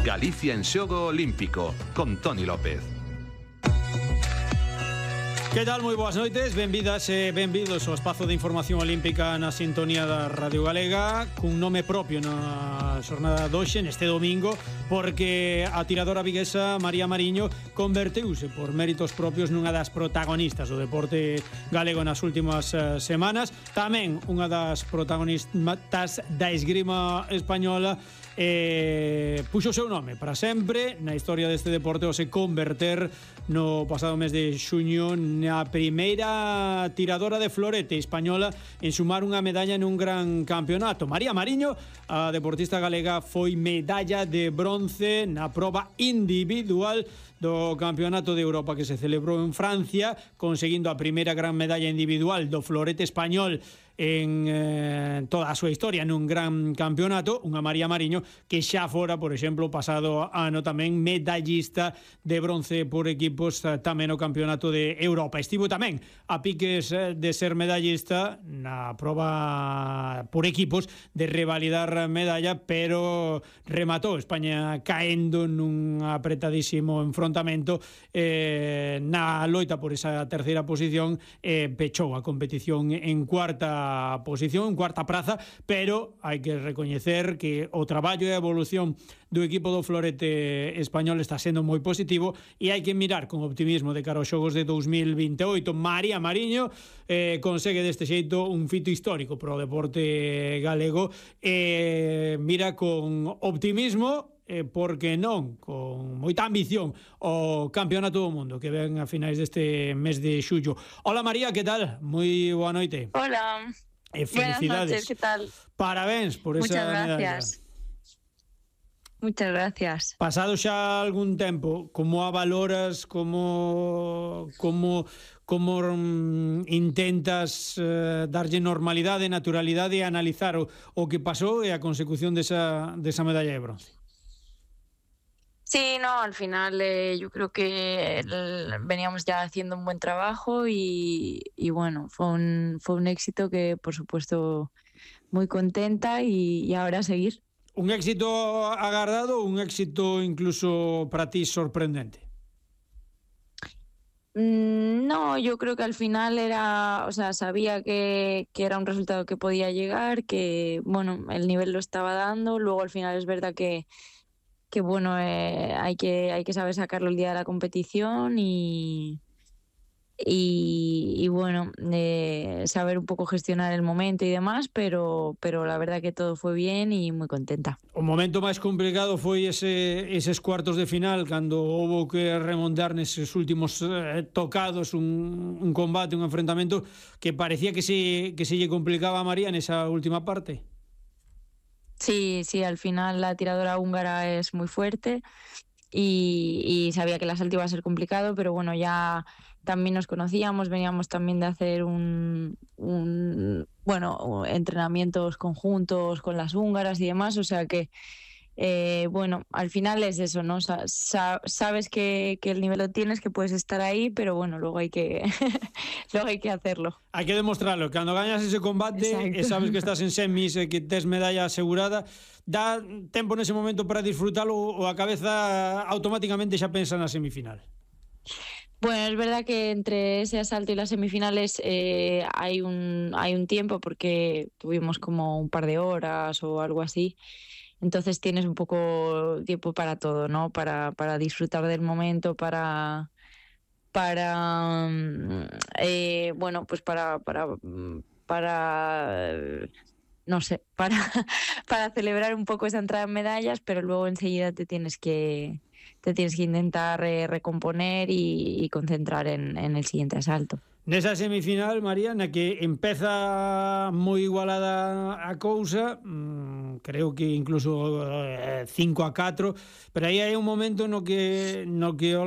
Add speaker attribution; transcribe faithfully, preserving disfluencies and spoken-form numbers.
Speaker 1: Galicia en xogo olímpico, con Toni López.
Speaker 2: Que tal? Moi boas noites, benvidas e benvidos ao espazo de información olímpica na sintonía da Radio Galega, cun nome propio na xornada doxe, neste domingo, porque a tiradora viguesa María Mariño converteuse por méritos propios nunha das protagonistas do deporte galego nas últimas uh, semanas, tamén unha das protagonistas da esgrima española. Eh, puxo o seu nome para sempre na historia deste deporte ao se converter no pasado mes de xuño na primeira tiradora de florete española en sumar unha medalla nun gran campeonato. María Mariño, a deportista galega, foi medalla de bronce na proba individual do Campeonato de Europa que se celebrou en Francia, conseguindo a primeira gran medalla individual do florete español en eh, toda a súa historia nun gran campeonato. Unha María Mariño que xa fora, por exemplo, pasado ano tamén medallista de bronce por equipos tamén no Campeonato de Europa. Estivo tamén a piques de ser medallista na proba por equipos de revalidar medalla, pero rematou España caendo nun apretadísimo enfrontamento eh, na loita por esa terceira posición, eh, pechou a competición en cuarta posición, en cuarta praza, pero hai que recoñecer que o traballo e a evolución do equipo do florete español está sendo moi positivo e hai que mirar con optimismo de cara aos xogos de dous mil vinte e oito. María Mariño eh, consegue deste xeito un fito histórico para o deporte galego e eh, mira con optimismo, eh, porque non, con moita ambición o Campeonato do Mundo que ven a finais deste mes de xullo. Hola María, que tal? Moi boa noite.
Speaker 3: Hola.
Speaker 2: E felicidades.
Speaker 3: Buenas noches, que tal?
Speaker 2: Parabéns por esa
Speaker 3: Muchas
Speaker 2: medalla.
Speaker 3: gracias. Muchas gracias.
Speaker 2: Pasado xa algún tempo, como a valoras, como como como um, intentas uh, darlle normalidade, naturalidade e analizar o, o que pasou e a consecución desa, desa medalla de bronce?
Speaker 3: Sí, no, al final eh, yo creo que el, veníamos ya haciendo un buen trabajo y, y bueno, fue un, fue un éxito que por supuesto muy contenta y, y ahora a seguir.
Speaker 2: Un éxito agardado, un éxito incluso para ti sorprendente.
Speaker 3: Mm, no, yo creo que al final era, o sea, sabía que, que era un resultado que podía llegar, que bueno, el nivel lo estaba dando, luego al final es verdad que que bueno, eh, hay que hay que saber sacarlo el día de la competición y y, y bueno, eh, saber un poco gestionar el momento y demás, pero pero la verdad que todo fue bien y muy contenta.
Speaker 2: O momento máis complicado foi ese eses cuartos de final cando houbo que remontar neses últimos eh, tocados un, un combate, un enfrentamento que parecía que se que se lle complicaba a María nesa última parte.
Speaker 3: Sí, sí, al final la tiradora húngara es muy fuerte y, y sabía que el asalto iba a ser complicado, pero bueno, ya también nos conocíamos, veníamos también de hacer un, un bueno, entrenamientos conjuntos con las húngaras y demás, o sea que Eh, bueno, al final es eso, ¿no? Sa- sa- sabes que, que el nivel lo tienes, que puedes estar ahí, pero bueno, luego hay que luego hay que hacerlo.
Speaker 2: Hai que demostrarlo. Cando gañas ese combate e sabes que estás en semis e que tes medalla asegurada, dá tempo nese momento para disfrutalo ou a cabeza automáticamente xa pensa na semifinal?
Speaker 3: Bueno, es verdad que entre ese asalto y las semifinales eh, hay un hay un tiempo porque tuvimos como un par de horas o algo así. Entonces tienes un poco tiempo para todo, ¿no? Para, para disfrutar del momento, para, para eh, bueno, pues para, para, para no sé, para, para celebrar un poco esa entrada en medallas, pero luego enseguida te tienes que, te tienes que intentar eh, recomponer y, y concentrar en, en el siguiente asalto.
Speaker 2: Nesa semifinal, María, na que empeza moi igualada a cousa, mmm, creo que incluso eh, cinco a catro, pero aí hai un momento no que no que